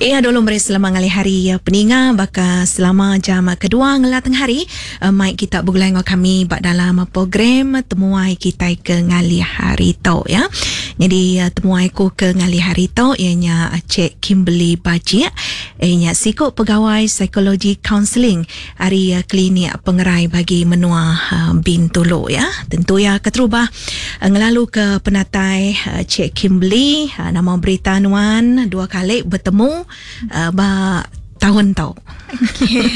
Iya dulu meri selamat ngalih hari peninga baka selama jam kedua ngela tengah hari mai kita begulai enggau kami ba dalam program temuai kitai ke ngalih hari tu ya. Nyadi temuai ku ke ngalih hari tu iya nya Cik Kimberly Bajik iya nya siku pegawai psikologi kaunseling ari klinik pengerai bagi menua Bintulu ya. Tentu iya keterubah ngelalu ke penatai Cik Kimberly nama berita nuan dua kali betemu ba taun tu. Okey.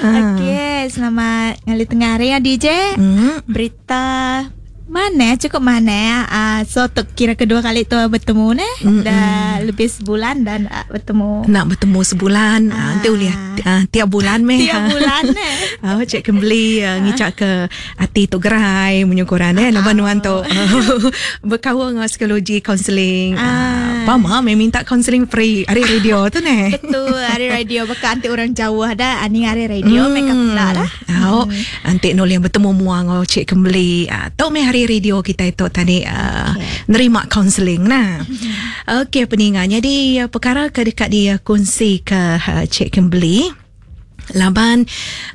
Okey, selamat ngalih tengah hari ya DJ. Berita Manah cukup manah uh, so tu kira kedua kali tu bertemu neh mm-hmm. dah lebih sebulan dan uh, bertemu nak bertemu sebulan uh. Uh, nanti boleh uh, tiap bulan meh tiap bulan neh uh, cik kembali uh, ngicak ke hati tu gerai menyukuran eh uh. nuan tu berkaul dengan psikologi counselling uh. uh, pama meh minta counselling free hari radio tu neh betul hari radio baka anti orang jauh dah ani hari radio mm. make up dah Au, enti nulih betemu mua enggau Cik Kembeli, uh, tu meh hari radio kita itu tadi uh, okay. nerima kaunseling nah. Okey peninga. Jadi uh, perkara ke dekat dia kongsi ke uh, Cik Kembeli laban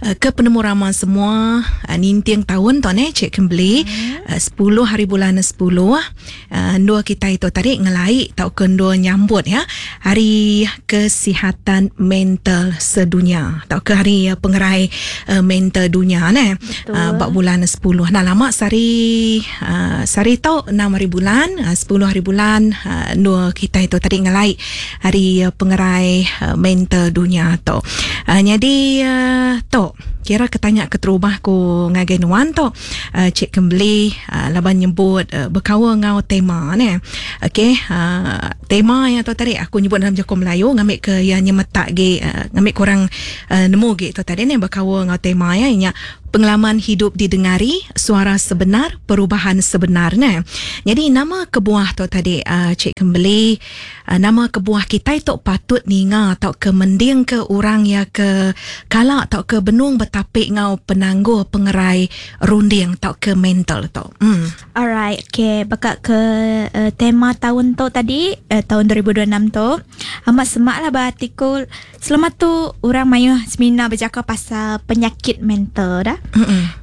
uh, ke penemu rama semua uh, ninting tahun tu ne Cik Kembeli uh, 10 hari bulan 10 uh, dua kita itu tadi ngelai tau ke dua nyambut ya hari kesihatan mental sedunia tau ke hari uh, pengerai uh, mental dunia ne uh, bak bulan 10 nah lama sari uh, sari tau 6 hari bulan uh, 10 hari bulan uh, dua kita itu tadi ngelai hari uh, pengerai uh, mental dunia tu uh, jadi uh, tu kira ketanya keterubah ku ngagai nuan tu uh, Cik Kembeli uh, laban nyebut uh, berkaul ngau tema ne. Okey, uh, tema yang tu tadi aku nyebut dalam jaku Melayu ngambil ke yang nyemetak gi uh, ngambil kurang uh, nemu gi tu tadi ne berkaul ngau tema ya nya pengalaman hidup didengari suara sebenar perubahan sebenar ne. Jadi nama kebuah tu tadi uh, Cik Kembeli uh, nama kebuah kita itu patut ninga atau ke mending ke orang ya ke kala atau ke benung betapik ngau penangguh pengerai runding atau ke mental tu. Hmm. Alright, okay. Baka ke uh, tema tahun tu tadi, uh, tahun 2026 tu, amat semak lah berartiku. Selama tu orang mayuh semina bercakap pasal penyakit mental dah.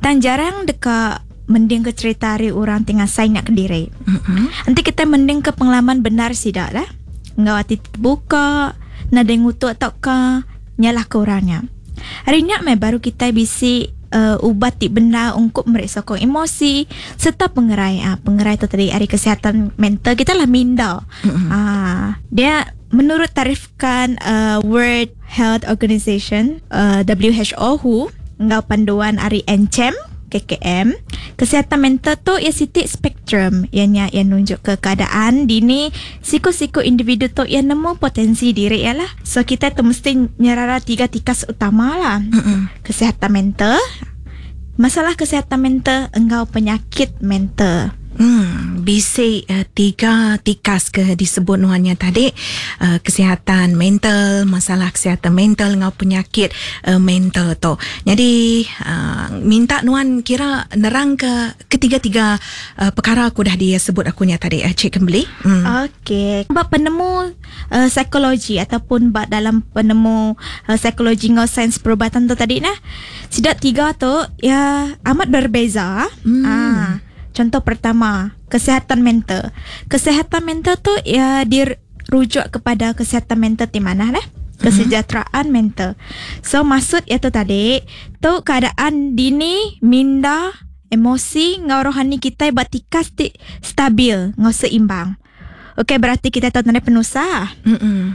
Dan jarang dekat mending ke cerita hari orang tengah saing nak kediri. Nanti kita mending ke pengalaman benar sidak dah. Ngau hati terbuka, nada ngutuk atau ke nyalah ke orangnya. Hari ni mai baru kita bisi uh, ubat ti benar untuk meriksa sokong emosi serta pengerai. Ah, pengerai tu tadi hari kesihatan mental kita lah minda. Ah, dia menurut tarifkan uh, World Health Organization uh, WHO WHO ngau panduan ari NCHEM KKM kesihatan mental tu ia sitik spektrum ianya yang nunjuk ke keadaan dini siku-siku individu tu ia nemu potensi diri ya lah. So kita tu mesti nyerara tiga tikas utama lah. Kesihatan mental, masalah kesihatan mental engkau penyakit mental. Bisi tiga tikas ke disebut nuannya tadi, kesihatan mental, masalah kesihatan mental ngau penyakit mental tu. Jadi minta nuan kira nerang ke ketiga-tiga perkara aku dah dia sebut akunya tadi, Cik Kembeli. Okey. Bab penemu psikologi ataupun bab dalam penemu psikologi ngau sains perubatan tu tadi nah. Sidak tiga tu ya amat berbeza. Contoh pertama, kesihatan mental. Kesihatan mental tu ya dirujuk kepada kesihatan mental di mana lah? Kesejahteraan mental. So maksud itu tadi, tu keadaan dini, minda, emosi, ngau rohani kita bertikas ti stabil, ngau seimbang. Okey, berarti kita tahu tentang penusah.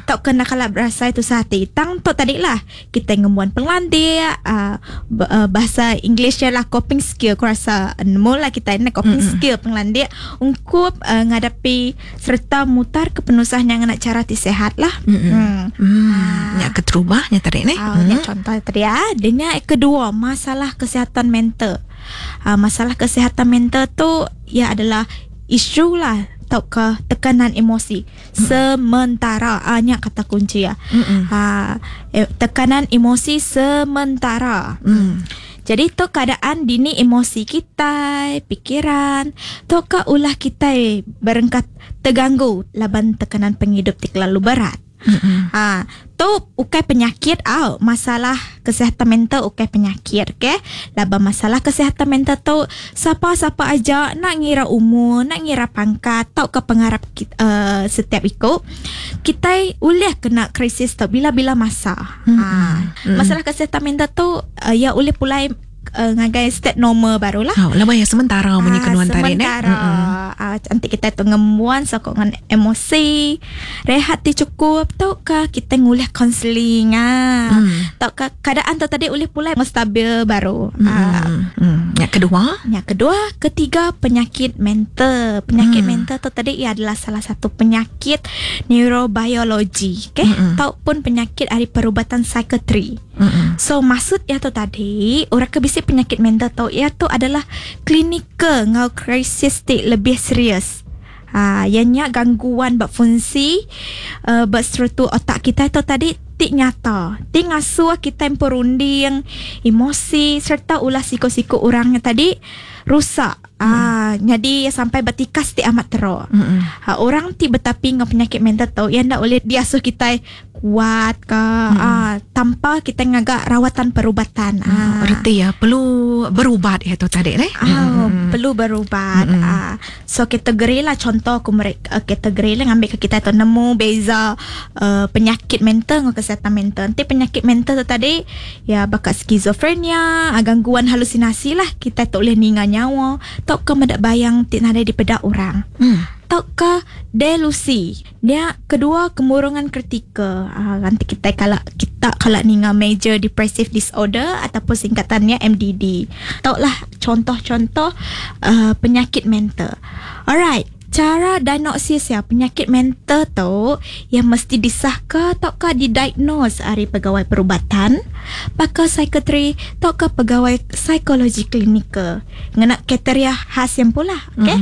Tak kena kalau berasa itu sehati. Tang tu tadi lah kita ngemuan pengelandik, bahasa English lah coping skill. Aku rasa mula kita ni coping skill pengelandik ungkup ngadapi serta mutar ke penusah yang nak cara ti sehat lah. Yang keterubahnya tadi ni. Yang contoh tadi ya. Dan yang kedua, masalah kesihatan mental. Masalah kesihatan mental tu ya adalah isu lah atau ke tekanan emosi sementara. Nya kata kunci ya. Tekanan emosi sementara. Jadi tu keadaan dini emosi kita, pikiran, tu ke ulah kita berengkat terganggu laban tekanan penghidup ti terlalu berat. Ha, tu ukai penyakit au, masalah kesihatan mental ukai penyakit, okey. Laba masalah kesihatan mental tu sapa-sapa aja nak ngira umur, nak ngira pangkat tau ke pengarap kita, setiap ikut kita boleh kena krisis tu bila-bila masa. Ha, masalah kesihatan mental tu ya boleh pulai ngagai state normal barulah. Oh, lama ya sementara bunyi kenuan tadi ne. Sementara. Nanti kita tu ngemuan sokongan emosi, rehat ti cukup tau ke kita ngulih kaunseling ah. Tau ke keadaan tu tadi boleh pulai stabil baru. Yang kedua? Yang kedua, ketiga penyakit mental. Penyakit mental tu tadi ia adalah salah satu penyakit neurobiologi, okey? Tau pun penyakit dari perubatan psikiatri. So maksud ia tu tadi orang ke bisi penyakit mental tu ia tu adalah klinikal ngau krisis ti lebih serius. Ha, ianya gangguan berfungsi berstruktur otak kita tu tadi ti nyata. Ti ngasuh kita perunding, emosi serta ulah siku-siku orangnya tadi rusak. Jadi sampai bertikas ti amat teruk. Ha, orang ti bertapi dengan penyakit mental tu yang ndak boleh diasuh kita kuat ke tanpa kita ngagak rawatan perubatan. Erti ya perlu berubat ya tu tadi leh. Perlu berubat. So kategori lah contoh aku mereka kategori lah ngambil ke kita tu nemu beza penyakit mental dengan kesihatan mental. Nanti penyakit mental tu tadi ya bakat skizofrenia, gangguan halusinasi lah kita tak boleh ninga nyawa, tak ke mendak bayang ti nadai dipedak orang. Tak ke delusi. Dia kedua kemurungan kritikal. Nanti kita kalau kita kalau ninga major depressive disorder ataupun singkatannya MDD. Tahulah contoh-contoh penyakit mental. Alright, cara diagnosis ya penyakit mental tu yang mesti disahkan atau ke didiagnose dari pegawai perubatan, pakar psikiatri atau ke pegawai psikologi klinikal. Ngena kriteria khas yang pula, okey?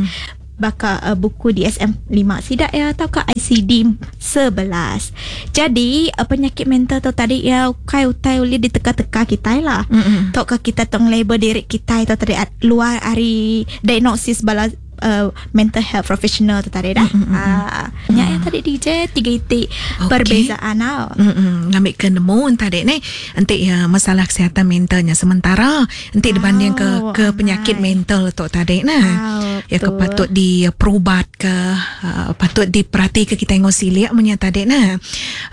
Baka buku DSM 5 sidak ya atau ke ICD 11. Jadi penyakit mental tu tadi ya kai utai boleh diteka-teka kita lah. Tok ke kita tong label diri kita itu tadi luar hari diagnosis bala mental health professional tu tadi dah. Nya yang tadi DJ tiga itik perbezaan tau. Ngambil ke nemu tadi ni entik ya masalah kesihatan mentalnya sementara entik dibanding ke penyakit mental tu tadi nah. Ya ke patut di perubat ke patut diperhati ke kita tengok silik punya tadi nah.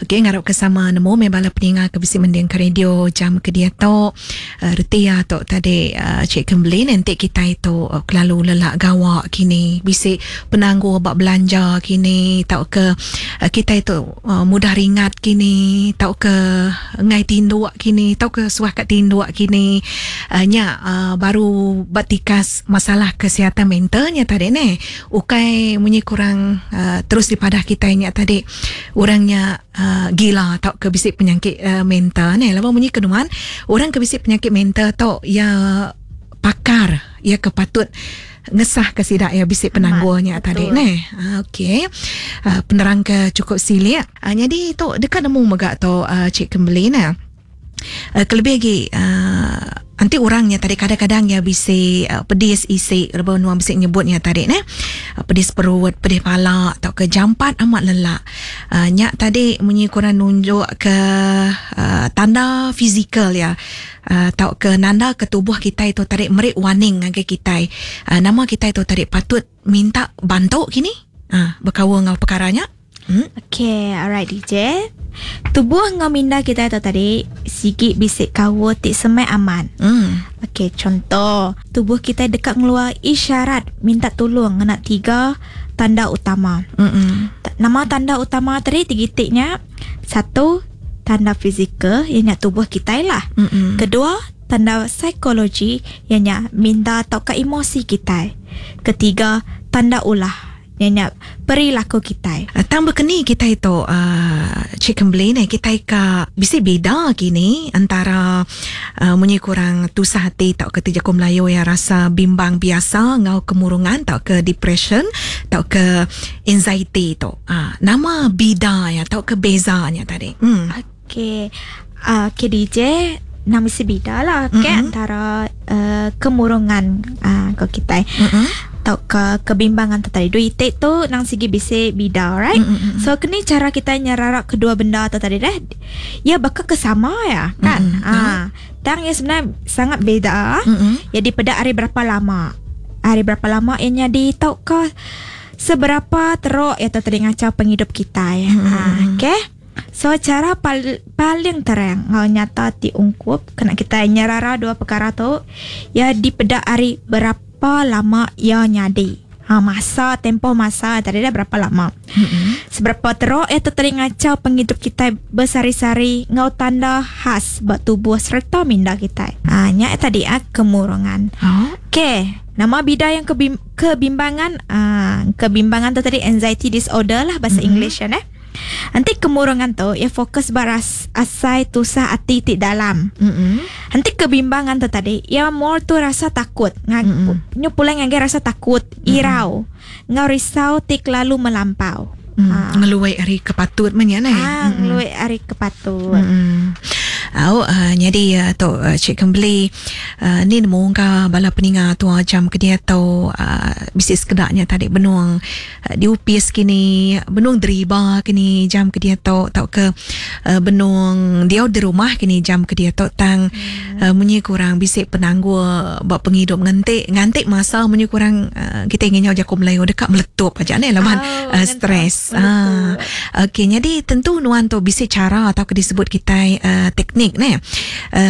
Okey ngarap ke sama nemu me bala peninga ke bisi mending ke radio jam ke dia tu reti ya tu tadi Cik Kembeli nanti kita itu kelalu lelak gawak kini bisi penangguh bab belanja kini tau ke kita itu mudah ringat kini tau ke ngai tinduk kini tau ke suah kat tinduk kini nya baru batikas masalah kesihatan mentalnya tadi ni ukai munyi kurang terus dipadah kita nya tadi orangnya gila tau ke bisi penyakit mental ni lama munyi kenuan orang ke bisi penyakit mental tau ya pakar ya ke patut ngesah ke sidak ya bisik penangguhnya tadi ni. Okey. Penerang ke cukup silik. Jadi tu dekat nemu megak tu Cik Kembeli nah. Kelebih lagi nanti orangnya tadi kadang-kadang ya bisik pedis isi reba nuang bisik nyebutnya tadi ne. Pedis perut, pedis pala atau ke jampat amat lelak. Nyak tadi munyi kurang nunjuk ke tanda fizikal ya. Tau ke nanda ke tubuh kita itu tarik merik warning ngagai kita. Nama kita itu tarik patut minta bantu kini. Berkawan ngau perkaranya. Okay, alright DJ. Tubuh ngau minda kita itu tadi sikit bisik kawa tik semai aman. Okey, contoh tubuh kita dekat ngeluar isyarat minta tolong ngena tiga tanda utama. Nama tanda utama tadi tiga titiknya. Satu, tanda fizikal ianya tubuh kita lah. Kedua, tanda psikologi ianya minda atau ke emosi kita. Ketiga, tanda ulah ianya perilaku kita. Tambah keni kita itu Cik Kembeli ni kita ka bisi beda kini antara munyi kurang tusah hati tau ke tiga Melayu yang rasa bimbang biasa ngau kemurungan tau ke depression tau ke anxiety tu. Nama beda ya tau ke bezanya tadi. Okey. Okay DJ nama si beda lah okay, antara kemurungan ke kita. atau ke kebimbangan tu tadi. Dua itik tu nang sigi bisi bida, right? So kini cara kita nyerarak kedua benda tu tadi deh. Ya bakal kesama ya kan. Ah, tang ya sebenarnya sangat beda. Ya dipeda hari berapa lama. Hari berapa lama ianya di tau ke seberapa teruk ya tu tadi ngacau penghidup kita ya. Ah, okay. So cara paling terang ngau nyata ti ungkup kena kita nyerara dua perkara tu ya dipeda hari berapa lama ia nyadi. Ha, masa tempoh masa tadi dah berapa lama. Seberapa teruk ya tu tadi ngacau penghidup kita bersari-sari ngau tanda khas buat tubuh serta minda kita. Ha, nya tadi ah kemurungan. Oh. Okey, nama bidang yang kebimbangan, kebimbangan tu tadi anxiety disorder lah bahasa English kan eh. Nanti kemurungan tu ya fokus baras asai tusah ati ti dalam. Nanti kebimbangan tu tadi ya more tu rasa takut. Nyu pulang ngagai rasa takut, irau. Ngau risau ti kelalu melampau. Ngeluai hari kepatut menya ne. Ngeluai hari kepatut. Au jadi tu Cik Kembeli ni nemu ka bala peninga tua jam ke dia tu bisi sekedaknya tadi benung diupis kini benung deriba kini jam ke dia tu tau ke benung dia di rumah kini jam ke dia tu tang munyi kurang bisi penanggul bab penghidup ngantik masa munyi kurang kita ingin nyawa jaku Melayu dekat meletup aja ne laban stres. Okey jadi tentu nuan tu bisi cara atau ke disebut kita teknik ne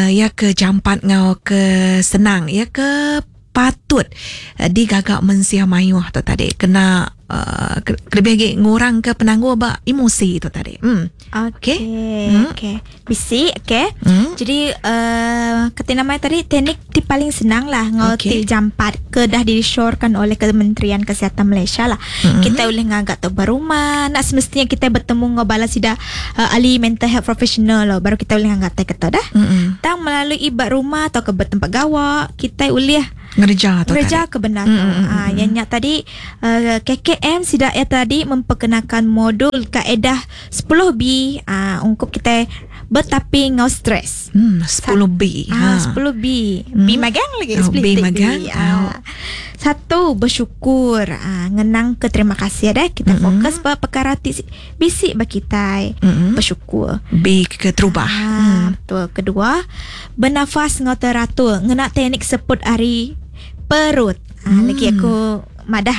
ya ke jampat ngau ke senang ya ke patut digagak mensia mayuh tu tadi kena lebih lagi ngurang ke penangguh ba emosi tu tadi. Okey. Okey. Bisi okey. Jadi kata nama tadi teknik ti paling senang lah ngau ti jampat ke dah disyorkan oleh Kementerian Kesihatan Malaysia lah. Kita boleh ngagak tu berumah nak semestinya kita bertemu ngau bala sida ahli mental health professional lah baru kita boleh ngagak tai kata dah. Tang melalui ibat rumah atau ke bertempat gawak kita boleh ngerja tu ngerja kebenaran. Yang nyak tadi KKM sidak ya tadi memperkenalkan modul kaedah 10B ungkup kita bertapi ngau stres. 10B. 10B. B magang lagi oh, B magang. B. Satu bersyukur, ngenang ke terima kasih dah kita fokus pada perkara bisik bagi kita. Bersyukur. B ke terubah. Betul. Kedua, bernafas ngau teratur, ngena teknik seput ari perut. Lagi aku madah